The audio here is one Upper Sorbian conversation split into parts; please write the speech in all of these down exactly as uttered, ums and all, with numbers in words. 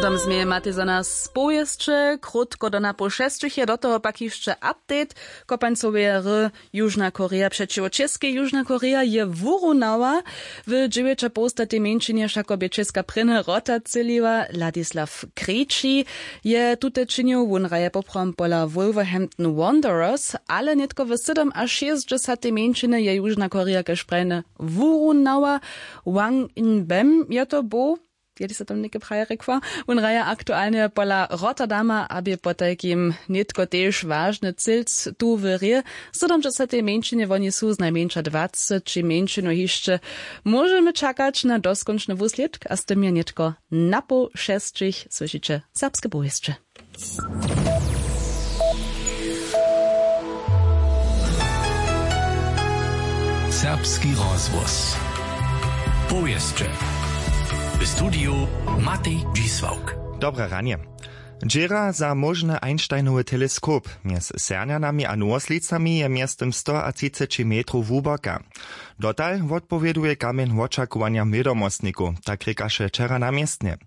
Tam změje matej za nas powěsće krótko do napoł šesćich je do toho pak hišće update. Kopańcoweje ry južna koreja přećiwo českej južna koreja je wurunała. W dźewjećapołstatej mjeńšinje wšako bě česka prěnje wrota třěliła ladislaw krejči je tute činił wón hraje poprawom pola wolverhampton wanderers. Ale nětko w sydomašěsćdźesatej mjeńšiny je južna koreja kaž prajne wurunała. Wang in bem je to był jeli se tam něke praje rěkła. Wón hraje aktualnje pola rotterdama a bě potajkim nětko tež wažny cylc tu w rě. Sydomdźesatej mjeńšinje woni su znajmjeńša dwaceći mjeńšinow hišće. Móžemy čakać na doskónčny wuslědk a z tym je nětko napoł šesćich słyšiće serbske powěsće. Serbski rozhłos. Powěsće. W studiju Matej Dźisławk. Dobre ranje. Dźěra za móžny einsteinowy teleskop mjez sernjanami a nowoslicami je mjeztym stoatřiceći metrow hłuboka. Dotal wotpowěduje kamjeń wočakowanjam wědomostnikow, tak rěkaše wčera na městnje.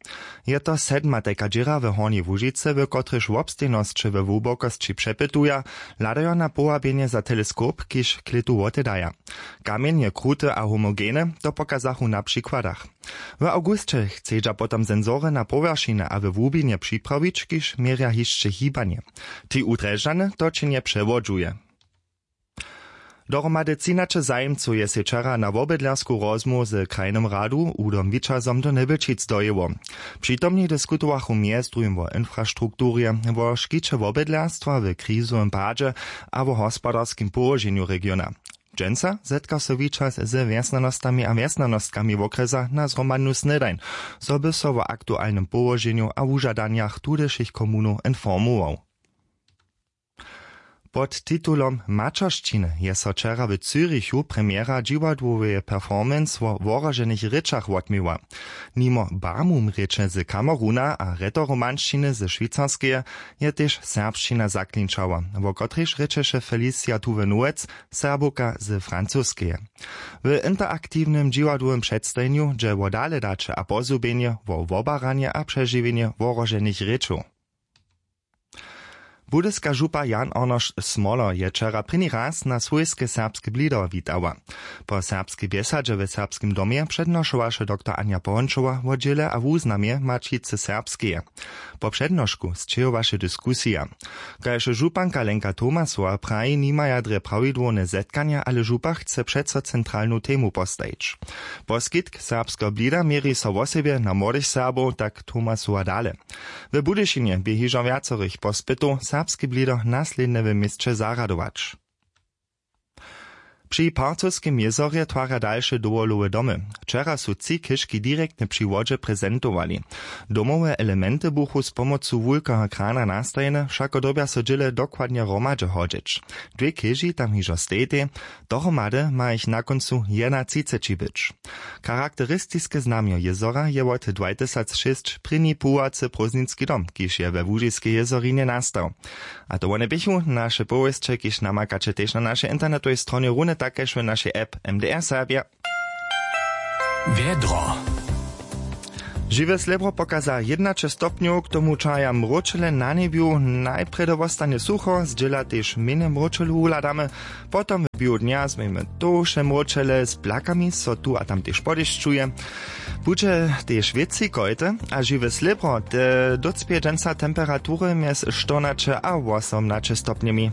Je to sedma tajka dźěra w hornjej łužicy w kotrejž wobstejnosće we hłubokosći přepytuja, hladajo na powabjenje za teleskop kiž klětu wotedaja. Kamjeń je kruty a homogeny, to pokazachu na přikładach. W awgusće chcedźa potom sensory na powjeršinje a we hłubinje připrawić kiž měrja hišće hibanje. Ti udrježany to činje přewodźuje. Dohromady třinaće zajimcow je sej wčera na wobydlersku rozmołwu z krajnym radu hudom wićazom do njebyčic dojěło. Přitomni diskutowachu mjez druhim wo infrastrukturje, wo škiće wobydlerstwa w krizowym padźe a wo hospodarskim połoženju regiona. Dźensa zetka so wićaz ze wjesnjanostami a wjesnjanostkami wokrjesa na zhromadnu snědań, zo by so wo aktualnym połoženju a wužadanjach tudyšich komunow informował. Pod titulom maćeršćiny je so wčera w zyrichu premjera dźiwadłoweje performance wo wohroženych rěčach wotměła. Nimo barmum rěče z kameruna a retoromanšćiny ze šwicarskeje je tež serbšćina zaklinčała, wo kotrejž rěčeše felicia tuwenowec, serbowka z francoskeje. W interaktiwnym dźiwadłowym předstajenju dźe wo daledaće a pozhubjenje wo wobaranje a přežiwjenje wohroženych rěčow. Budyska župa jan arnošt smoler je wčera prěni raz na swójske serbske blido witała. Po serbskej bjesadźe w serbskim domje přednošowaše doktor anja pohončowa wo dźěle a wuznamje maćicy serbskeje. Po přednošku sćěhowaše diskusija. Kaž županka lenka tomasowa praji nimaja drje prawidłowne zetkanja ale župa chce přeco centralnu temu postajić. Poskitk serbskeho blida měri so wosebje na młodych serbow tak tomasowa dale. W budyšinje bě hižo wjacorych pospytow serbski blido naslědnje w měsće zarjadować. Při parcowskim jězorje twarja dalše dowolowe domy. Wčera su tři chěžki direktnje při wodźe prezentowali. Domowe elementy buchu z pomocu wulkeho krana nastajene wšako dyrbja so dźěle dokładnje hromadźe hodźeć. Dwě chěži tam hižo stejitej. Dohromady ma jich na kóncu jednatřiceći być. Charakteristiske znamjo jězora je wot dwatysacšěsć prěni puwacy prózdninski dom kiž je we łužiskej jězorinje nastał. A to wone běchu naše powěsće kiž namakaće tež na našej internetowej stronje runje tak kaž w našej app mdr serbja. Wjedro. Žiwe slěbro pokaza jědnaće stopnjow k tomu čaja mróčele na njebju. Najprjedy wostanje sucho zdźěla tež mjenje mróčelu wuhladamy. Potom w běhu dnja změjmy tołše mróčele z blakami so tu a tam tež podešćuje. Budźe tež wětři kojty a žiwe slěbro te docpěje dźensa temperatury mjez štyrnaće a wosomnaće stopnjemi.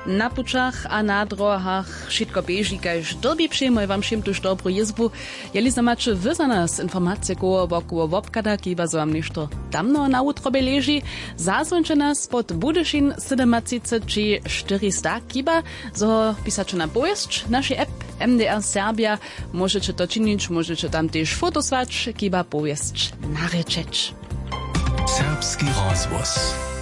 Na pućach a na drohach wšitko běži kaž dyrbi přijmoj wam wšěm tuž dobru jězbu. Jeli zo maće wy za nas informacije koło wokoło wobchada kiba zo wam něšto tamno na wutrobje leži, zazwońće nas pod budyšin sydomatřiceći štyrista kiba zo pisaće na powěsć našej app mdr serbja. Móžeće to činić móžeće tam tež foto słać kiba powěsć narěčeć. Serbski rozhłos.